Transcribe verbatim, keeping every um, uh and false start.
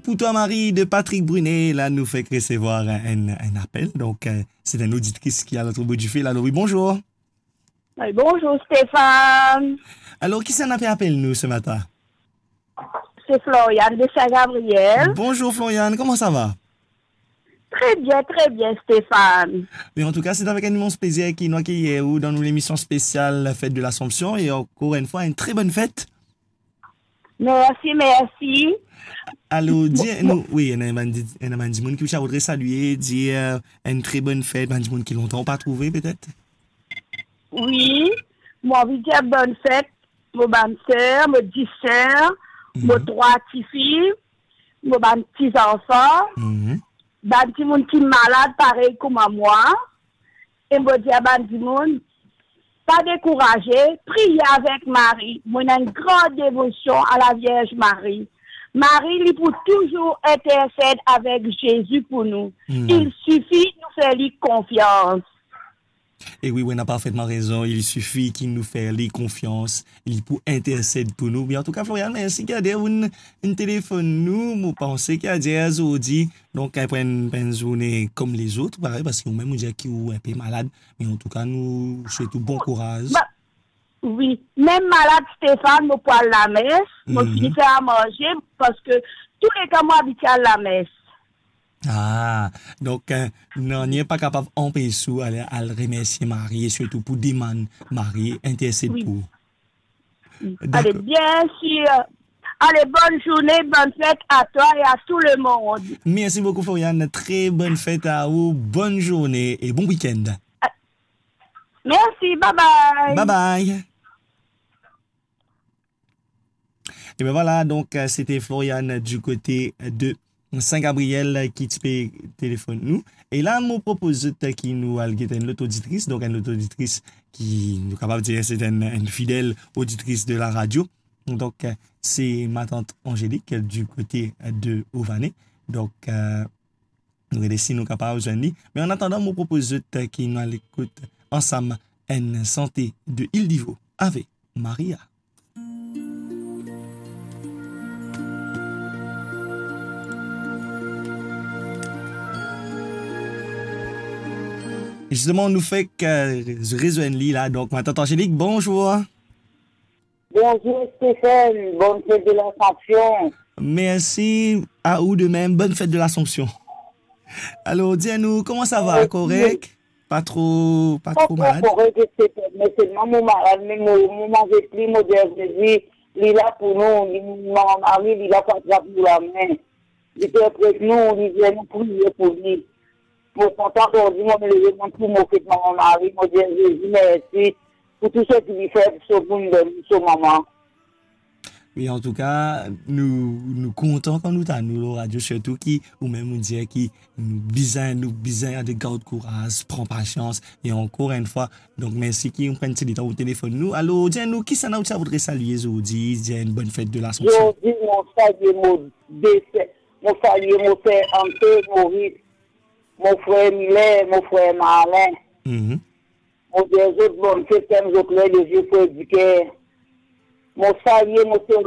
Pour toi, Marie, de Patrick Brunet. La, nou fek resevwar enn, enn apel. Donk, euh, se enn oditris ki a lot bout difil. Alo, wi, bonzour. Wi, bonzour, Stéphane. Alor, kisannla pe apel nou se matin? Se Floriane de Saint-Gabriel. Bonzour, Floriane, kouma sa va? Tre bien, tre bien, Stéphane. Be, an tou ka, se avek enn imans plezir ki nou akeyir ou dan nou lemision spesial Fête de l'Assomption. E ankor enn fwa, enn tre bonn fet. Mersi, mersi. Alor, dir nou, wi, ena bann di-, ena bann dimoun ki ou ti a voudre salie, dir, euh, enn tre bonn fet, bann dimoun ki lontan ou pa trouve, petet? Wi, mo anvi dir bonn fet, mo bann ser, mo dis ser, mo trwa tifi, mo bann ti zanfan, bann dimoun ki malad parey kouma mwa, e mo dir bann dimoun, pa dekouraze, priye avek Marie. Mo ena enn gran devosion a la Vierge Marie. Marie, li pou touzour intersed avek Zezi pou nou. Il sifi nou fer li konfians. E wi, wi, ou ena parfetman rezon. Il sifi ki nou fer li konfians, li pou intersed pou nou. Be, an tou ka, Floriane, mersi ki ader ou'nn, ou'nn telefonn nou. Mo panse ki ader zordi, donk, pou enn, pou enn zourne kom lezot, parey, parski ou mem ou dir ki ou enpe malad, me an tou ka, nou swet ou bon kouraz. Ba, wi, mem malad, Stéphane, mo pou al lames, mo fini fer a manze, parski touleka mo abitie al lames. Ah, donk, euh, nanye pa kapav anpes ou al, al remersie Marie, e sirtou pou demann Marie intersed pou ou. Ale, dakor. Bien sir. Ale, bonn zourne, bonn fet a twa e a tou lemond. Mersi boukou, Floriane. Tre bonn fet a ou, bonn zourne e bon wikenn. Mersi, bye bye. Bye bye. E ben vwala, donk, euh, se te Floriane du kote de Saint-Gabriel ki ti pe telefonn nou. E la, mo propoz zot ki nou al get enn lot oditris, donk enn lot oditris ki nou kapav dir se enn, enn fidel oditris de la radio. Donk, euh, se matant Angélique du kote de Ované. Donk, euh, nou gete si nou kapav zwenn li. Me an atandan, mo propoz zot ki nou al ekout ansam enn sante de Ile Divo avek Maria. Zisteman, nou fek, euh, rezwenn li la. Donk, matant Angélique, bonzour. Bonzour Stéphane, bonne fête de l'Assomption. Mersi a ou de mem, bonne fête de l'Assomption. Alor, dir nou, kouma sa va? Mersi. Korek? Pa tro, pa tro malad? Korek, Stéphane, me selman mo malad, me mo, mo manze pli, mo dir Zezi, li la pou nou, li, Mama Mari, li la pou atrap nou lame. Li pe pret nou, li dir nou priye pou li. Mo kontan zordi, mo leve, mo pou mo fet Mama Mari, mo dir Zezi mersi pou tou seki li fer, so pou nou donn so mama. Wi, an tou ka, nou, nou kontan kan nou tann ou lor radio, sirtou ki ou mem ou dir ki nou bizin, nou bizin gard kouraz, pran pasians, e ankor enn fwa, donk mersi ki ou pran ti letan ou telefonn nou. Alor, dir nou, kisannla ou ti a voudre salie zordi, dir enn bonn fet de l'Assomption? Zordi, mo salie mo de ser, mo salie mo ser Ante, Moris, mo frer Mile, mo frer Marlin. Mhm. Mo dir zot bonn fet, kem zot le, le zie frer diker. Mo salie mo ser